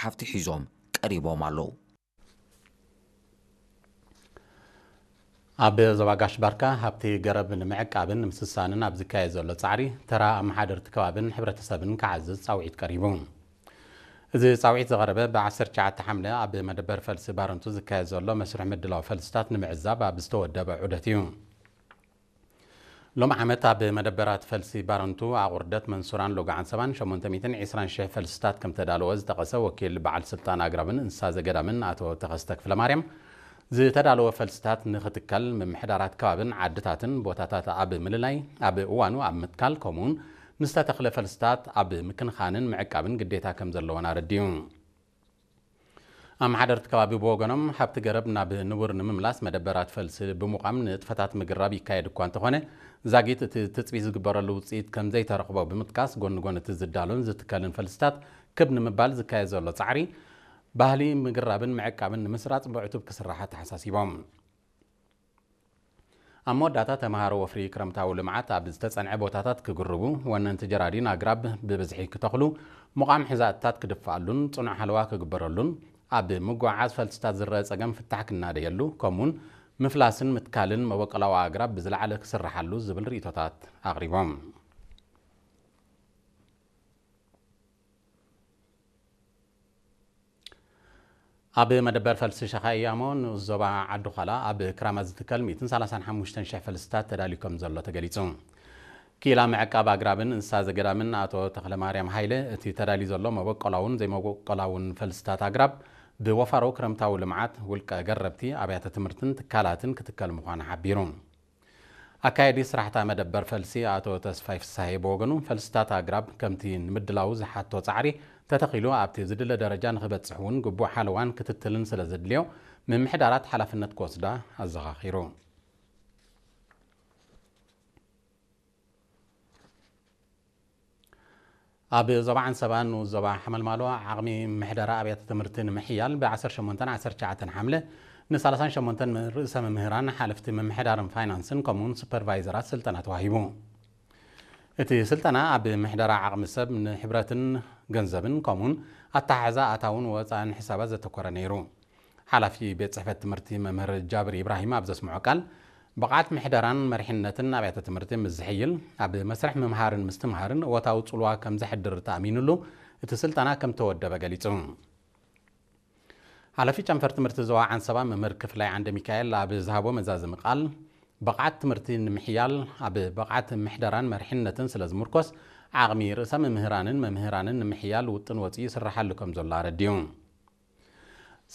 ሓፍቲ ሒዞም ቀሪቦም ኣለዉ። ኣብ ዞባ ጋሽ ባርካ ሃብቲ ገረብ ንምዕቃብን ንምስሳንን ኣብ ዝካየድ ዘሎ ጻዕሪ ተራ ኣመሓደርቲ ከባብን ሕብረተሰብን ክዓዝዝ ጻውዒት ቀሪቡ። እዚ ጻውዒት ዝቐረበ ብ19 ሓምለ ኣብ መደበር ፈልሲ ባረንቱ ዝካየድ ዘሎ መስርሕ ምድላው ፈልስታት ንምዕዛብ ኣብ ዝተወደበ ዑደት እዩ። ሎም ዓመት ኣብ መደበራት ፈልሲ ባረንቱ ኣቑርደት መንሱራን ሎጋዓን ሰባን ሸሞንተ ሚእትን ዕስራን ሽሕ ፈልስታት ከም ተዳለወ ዝጠቐሰ ወኪል በዓል ስልጣን ኣግራብን እንስሳ ዘገዳምን ኣቶ ተኸስተ ክፍለ ማርያም፣ ዝተዳለወ ፈልስታት ንክትከል ምምሕዳራት ከባብን ዓድታትን ቦታታት ኣብ ምልላይ ኣብ እዋኑ ኣብ ምትካል ከምኡውን ንዝተተኽለ ፈልስታት ኣብ ምክንኻንን ምዕቃብን ግዴታ ከም ዘለዎን ኣረዲዩ። ኣመሓደርቲ ከባቢ ብወገኖም ሃብቲ ገረብ ናብ ንቡር ንምምላስ መደበራት ፈልሲ ብምቋም ንጥፈታት ምግራብ ይካየድ እኳ እንተኾነ ዛጊት እቲ ትፅቢት ዝግበረሉ ውፅኢት ከም ዘይተረኽቦ ብምጥቃስ ጎኒ ጎኒ እቲ ዝዳሎን ዝትከልን ፈልስታት ክብ ንምባል ዝካየድ ዘሎ ፃዕሪ ባህሊ ምግራብን ምዕቃብን ንምስራፅ ብዕቱብ ክስራሕ ኣተሓሳሲቦም። ኣብ መወዳእታ ተምሃሮ ወፍሪ ክረምታዊ ልምዓት ኣብ ዝተጸንዐ ቦታታት ክግርቡ፣ ወነንቲ ጀራዲን ኣግራብ ብብዝሒ ክተኽሉ፣ ምቋም ሕዛእትታት ክድፍኣሉን ጽኑዕ ሓለዋ ክግበረሉን፣ ኣብ ምጉዕዓዝ ፈልስታት ዝረአ ጸገም ፍታሕ ክናደየሉ፣ ከምኡውን ምፍላስን ምትካልን መበቆላዊ ኣግራብ ብዝለዓለ ክስርሓሉ ዝብል ርእይቶታት ኣቕሪቦም። ኣብ መደበር ፈልሲ ሸኻ እያሞ ንኡስ ዞባ ዓዲ ዃላ ኣብ ክራማት ዝትከል ሚእትን ሰላሳን ሓሙሽተን ሽሕ ፈልስታት ተዳልዩ ከም ዘሎ ተገሊጹ። ክኢላ ምዕቃብ ኣግራብን እንስሳ ዘገዳምን ኣቶ ተኽለማርያም ሃይለ፣ እቲ ተዳልዩ ዘሎ መበቆላውን ዘይመበቆላውን ፈልስታት ኣግራብ ብወፋሮ ክረምታዊ ልምዓት፣ ውልቀ ገረብቲ፣ ኣብያተ ትምህርትን ትካላትን ክትከል ምዃኑ ሓቢሩ። ኣካየዲ ስራሕታ መደበር ፈልሲ ኣቶ ተስፋይ ፍሳሄ ብወገኑ፣ ፈልስታት ኣግራብ ከምቲ ንምድላው ዝሓቶ ጻዕሪ ተተኺሉ ኣብቲ ዝድለ ደረጃ ንኽበጽሕ እውን ግቡእ ሓለዋን ክትትልን ስለ ዘድልዮ፣ ምምሕዳራት ሓላፍነት ክወስዳ ኣዘኻኺሩ። ኣብ ዞባ ዓንሰባ ንኡስ ዞባ ሓመልማሎ ዓቕሚ ምሕደራ ኣብያተ ትምህርቲ ንምሕያል ብ18 ዓሰርተ ትሽዓተ ሓምለ ን38 ርእሰ መምህራን፣ ሓለፍቲ ምምሕዳርን ፋይናንስን ከምኡውን ሱፐርቫይዘራት ስልጠና ተዋሂቡ። እቲ ስልጠና ኣብ ምሕደራ ዓቕሚ ሰብ ንሕብረትን ገንዘብን ከምኡውን ኣተሓሕዛ ኣታውን ወፃእን ሕሳባት ዘተኮረ ነይሩ። ሓላፊ ቤት ጽሕፈት ትምህርቲ መምህር ጃብር ኢብራሂም ኣብ ዘስምዖ ቃል፣ ብቕዓት ምሕደራን መሪሕነትን ኣብያተ ትምህርቲ ምስ ዝሕይል፣ ኣብ መስርሕ ምምሃርን ምስትምሃርን እወታዊ ጽልዋ ከም ዘሕድር ተኣሚኑሉ እቲ ስልጠና ከም ተወደበ ገሊጹ። ሓላፊ ጨንፈር ትምህርቲ ዞባ ዓንሰባ መምህር ክፍላይ ዓንደ ሚካኤል ኣብ ዝሃቦ መዛዘሚ ቃል፣ ብቕዓት ትምህርቲ ንምሕያል ኣብ ብቕዓት ምሕደራን መሪሕነትን ስለ ዝምርኮስ፣ ዓቕሚ ርእሰ መምህራንን መምህራንን ንምሕያል ውጥን ወጺኡ ይስርሓሉ ከም ዘሎ ኣረዲኡ።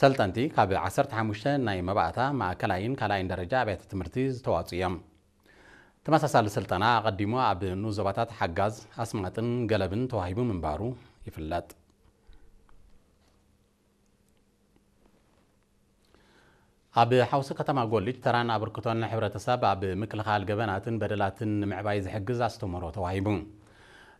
ሰልጠንቲ ካብ ዓሰርተ ሓሙሽተ ናይ መባእታ፣ ማእከላይን ካልኣይን ደረጃ ኣብያተ ትምህርቲ ዝተዋፅኡ እዮም። ተመሳሳሊ ስልጠና ኣቐዲሙ ኣብ ንኡስ ዞባታት ሓጋዝ፣ ኣስማጥን ገለብን ተዋሂቡ ምንባሩ ይፍለጥ። ኣብ ሓውሲ ከተማ ጎልጅ ተራን ኣበርክቶን ሕብረተሰብ ኣብ ምክልኻል ገበናትን በደላትን ንምዕባይ ዝሕግዝ ኣስተምህሮ ተዋሂቡ።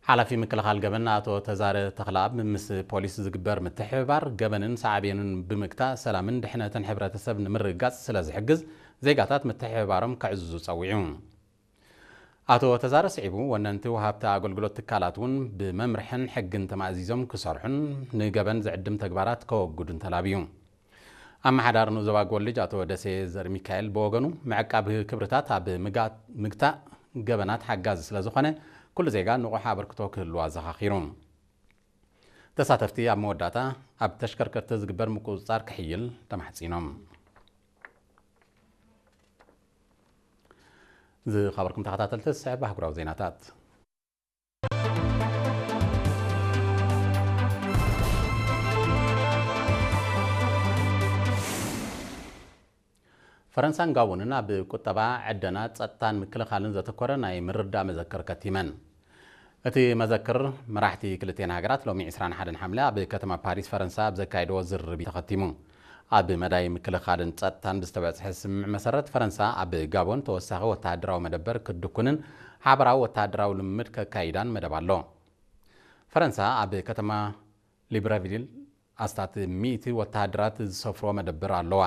ሓላፊ ምክልኻል ገበን ኣቶ ተዛረ ተኽለኣብ፣ ምስ ፖሊስ ዝግበር ምትሕብባር ገበንን ሳዕቤኑን ብምግታእ ሰላምን ድሕነትን ሕብረተሰብ ንምርግጋፅ ስለ ዝሕግዝ ዜጋታት ምትሕብባሮም ከዕዝዙ ፀዊዑ። ኣቶ ተዛረ ስዒቡ፣ ወነንቲ ወሃብቲ ኣገልግሎት ትካላት እውን ብመምርሕን ሕግን ተማእዚዞም ክሰርሑን ንገበን ዝዕድም ተግባራት ከወግዱን ተላብዩ። ኣመሓዳሪ ንኡስ ዞባ ጎልጅ ኣቶ ደሴ ዘርሚካኤል ብወገኑ፣ ምዕቃብ ክብርታት ኣብ ምጋ-፣ ምግታእ ገበናት ሓጋዚ ስለ ዝኾነ፣ ኩሉ ዜጋ ንቑሕ ኣበርክቶ ክህልዎ ኣዘኻኺሩ። ተሳተፍቲ ኣብ መወዳእታ ኣብ ተሽከርከርቲ ዝግበር ምቁጽጻር ክሕይል ተማሕጺኖም። ዝኸበርኩም ተኸታተልቲ፣ ዝስዕብ ኣህጉራዊ ዜናታት። ፈረንሳን ጋቦንን ኣብ ቁጠባ፣ ዕደና፣ ጸጥታን ምክልኻልን ዘተኮረ ናይ ምርድዳእ መዘክር ከቲመን። እቲ መዘክር፣ መራሕቲ ክልቲኤን ሃገራት ሎሚ ዕስራን ሓደን ሓምለ ኣብ ከተማ ፓሪስ ፈረንሳ ኣብ ዘካየድዎ ዝርርብ እዩ ተኸቲሙ። ኣብ መዳይ ምክልኻልን ጸጥታን ብዝተበጽሐ ስምምዕ መሰረት፣ ፈረንሳ ኣብ ጋቦን ተወሳኺ ወተሃደራዊ መደበር ክትድኩንን ሓበራዊ ወተሃደራዊ ልምምድ ከካይዳን መደብ ኣሎ። ፈረንሳ ኣብ ከተማ ሊብረቪል ኣስታት ሚእቲ ወተሃደራት ዝሰፍሮ መደበር ኣለዋ።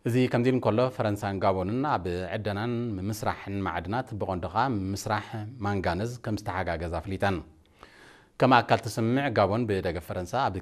እዚ ከምዚ ኢሉ እንከሎ፣ ፈረንሳን ጋቦንን ኣብ ዕደናን ምምስራሕን ማዕድናት፣ ብቐንዱ ኸኣ ምምስራሕ ማንጋነዝ ከም ዝተሓጋገዛ ኣፍሊጠን። ከም ኣካል እቲ ስምምዕ፣ ጋቦን ብደገፍ ፈረንሳ ኣብ